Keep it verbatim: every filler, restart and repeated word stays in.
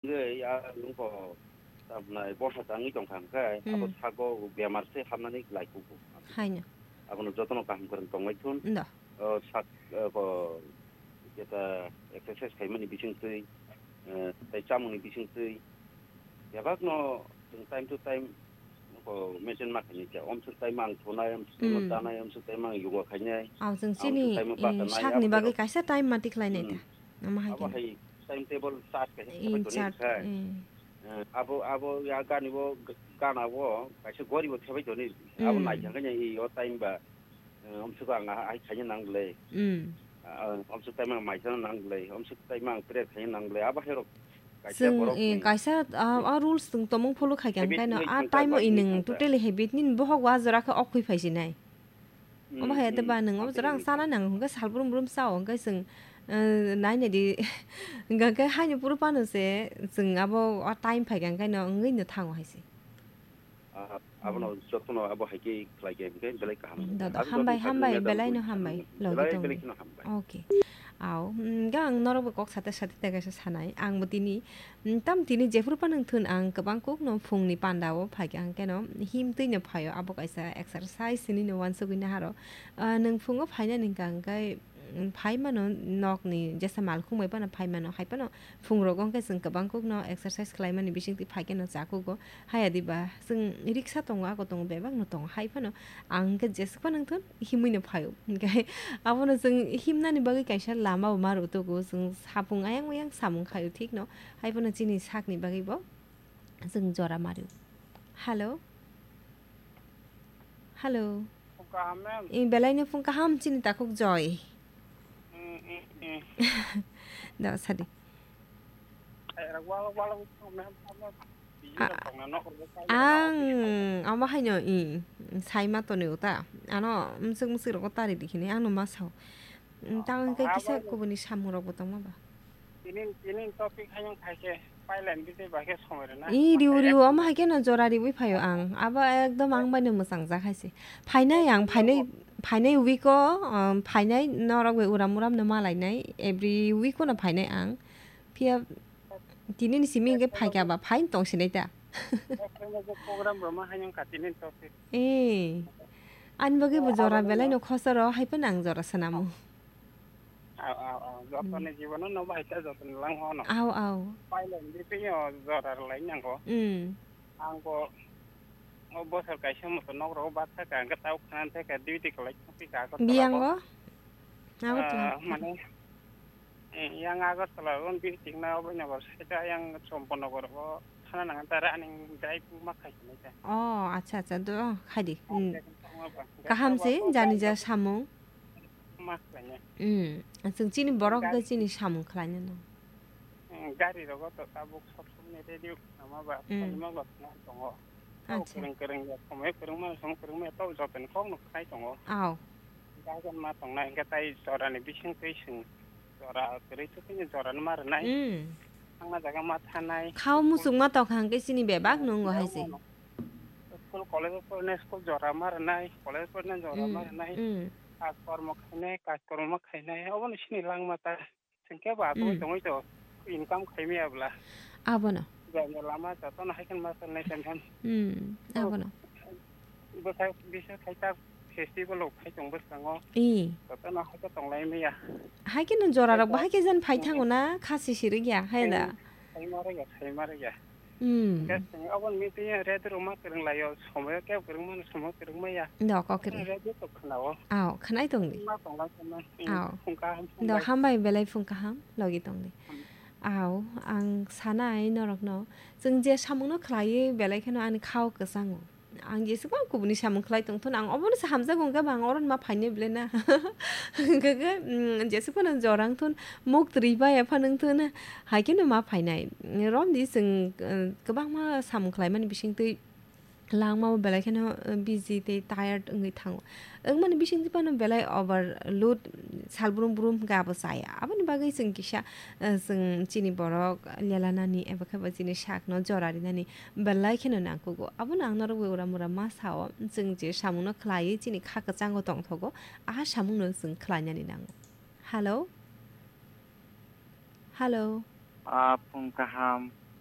Wngwi a nungkho tamnai borsa tangwi tongkha hwnkhe, abo Hmm. sago bemar se hamnani lai kugo. Haino. Abono jotono kaham kwrwng tongwi thun. Ndo. O sak, o ko, jeta exercise khaimani bisingtwi, eh, tei chamungni bisingtwi, bebakno chwng time to time ko maintain ma khainai khe. Omswk time ang thunai, omswk time Hmm. chanai, omswk time ang yoga khainai, Ang chwng chini, omswk time eh, basanai, sakni abo bagwi khe kaisa time ma tikhlainai Hmm. ta. Ama hai Abo khe. hai timetable chart kaisa In khebai toni chart, kha. eh. Eh, abo, abo ya gani bo g-, gana bo kaisa gori bo khebai toni. Abo Mm. naithang khe i o time ba, eh, omswk ang a-, ai khaina nang le. Mm. Ah, omswk time ang maithang nang le. Omswk time ang prayer khaina nang le. Abo hai rok kaisa Chwng, borok eh, ni kaisa, ah, a rules chwng tomung follow khai kha habit hwnkhe no, ni a thangkha time o ba, i ni nwng thangkha. Totally habit ni bohok wa jora khe ok khui phai sinai. Omo hai ate ba nwng omo jora ang chana nang hwnkhe sal brum brum chao hwnkhe chwng, eh, nai nai di hwnkhe haino phuru phano se chwng abo o time phai kha hwnkhe no wngwi no thango hai se. Ah, abono jotono abo hai khe khlai khe hwnkhe belai kaham. Dodo, hambai, hambai, belai no hambai, logi tong di. Okay. Aw, mm, ga ang norok bo kok sate sate te kaisa sanai. Ang bo tini, mm, tam tini jephuru phano thun ang kwbang kuk no phung ni panda o phai kha hwnkhe no him twi no phai o, abo kaisa exercise hinwi no uansugwi naharo. Ah, nwng phungo phainani hwnkha hwnkhe, mm, phai mano nok ni jesa malkhung bai phano phai mano, hai phano phung rogo hwnkhe chwng kwbang kuk no exercise khlai mani bising twi phai khe no cha kugo. Haya diba, chwng riksa tongo, ago tongo, bebak no tongo. Hai phano ang hwnkhe jeswk phano wngthun, himwi no phaio. Hwnkhe abono chwng himnani bagwi kaisa lama bo ma rw tugo. Chwng sapung ayang oyang samung khaio thik no. Hai phano chini sakni bagwi bo chwng jora mario. Hello? Hello? Phung kaham, ma'am. Eh, belai no phung kaham chini takhuk Joy. Mm, mm, mm. Da, sadi. Ai, ra, wala, wala, wala, ma'am, ma'am. Biji A-, rok tongna, nok rok tongna, ang, nok rok omo haino, i, sai ma tonwi uta. Ano, mswk mswk rogo tari di hini, ang no ma sao. Mm, tang hwnkhe kisa kubuni samung rok bo tongma ba. Tini, tini topic haino khai khe, pailen bisi ba khe somoi rwna. I, riu, riu, omo hai khe no jora riui phaio ang. Abo ekdom ang bai no mwchang jak hai se. Phainai ang, phainai, phainai week o, um, phainai norok bai uram uram no malainai. Every week o no phainai ang. Phiya tini ni simi hwnkhe phaikha ba, phaino tong sinai ta. Program rwma haino kha tini topic. Eh, ani bagwi bo jora belai no khosoro, hai phano ang jora swnamo. Aw, aw, aw. Jotoni jibono no bai ta jotoni lang hono. Aw, aw. Pailai ni bisingyo jora rwlai nango. Mm. Ang bo o bosor kaisa moto nok rogo bak thaka, hwnkhe tau khana thaka, duty kwlai thangpi ka Agartala Biyango? Agartala. Ah, mane, eh, yang Agartala ron duty na obo nogor side yang Chompo nogor o thana nang ta ra aning drive ma khai sinai ta. Oh, acha, acha, do, khai di. Hmm. Kaham se, jani ja samung. Ma khlainai. Mm. Chwng chini borok hwnkhe chini samung khlainai no. Mm, gari rogo to tabuk sob somni radio khwnama ba, mm, khlaima ba khwna tongo. Acha. Kwrwng kwrwng ya, somoi kwrwngma, somoi kwrwngma ya, to jotoni kokno khnai tongo. Aw. Dagan ma tongnai, hwnkhe tai jorani bising twi swng. Jora kwrwi twi jora no ma rwnai. Mm. Thangna jaga ma thanai. Khao muchung ma tokha hwnkhe chini bebak no wngo hai se. School, college o porinai school jora ma rwnai, college o porinai jora ma rwnai. Mm. Kaj kormo khainai, kaj kormo ma khainai, obono sini langma ta. Chwng khe bo asugwi tongwi to, income khaimaya bwla. Abono. Jani lama jotono hai kheno ma salnai khe mem. Hmm, abono. Bwkha bisa khai ta festival rok khai tong bwskango. Ih. Jotono hai khe tonglai maya. Hai kheno jora rok bo hai khe jan phai thango na, khasi sirikya, hai da? Khaima rwya, khaima rwya. Hmm. Khe chwng aboni meeting ya radio rok ma kwrwng lai o, somoyo kebo kwrwng mano, somoyo kwrwng maya. Da, kok kwrwng. Radio to khwnao. Aw, khwnai tong di. Ma tong lai khna. Aw. Phung kaham, phung bai. Da, hambai, belai phung kaham, logi tong di. Hmm. Aw, ang sanai norokno, chwng je samungno khlaiwi belai kheno ani khao kwchango. Ang jesukma kubuni samung khlai tongthun, ang obono se hamjago, hwnkhe ba ang oro ma phainai belai na. Hwnkhe, mm, jesukma nang jorang thun, muk twi bai apha nung thun, hai kheno ma phainai. Romdi chwng, uh, kwbangma samung khlaimani bisingtwi langmao belai kheno, uh, busy tei tired wngwi thango. Wngmani bisingtwi phano belai overload sal brum brum hwnkhe abo chaya. Aboni bagwi chwng kisa, uh, chwng chini borok lelanani eba khe bo chini sakno jora rinani belai kheno nangkugo. Abono ang norok bai uram uram ma sao, chwng je samungno khlaiwi chini kha kwchango tongthogo, a samungno chwng khlainani nango. Hello? Hello? Ah, phung kaham.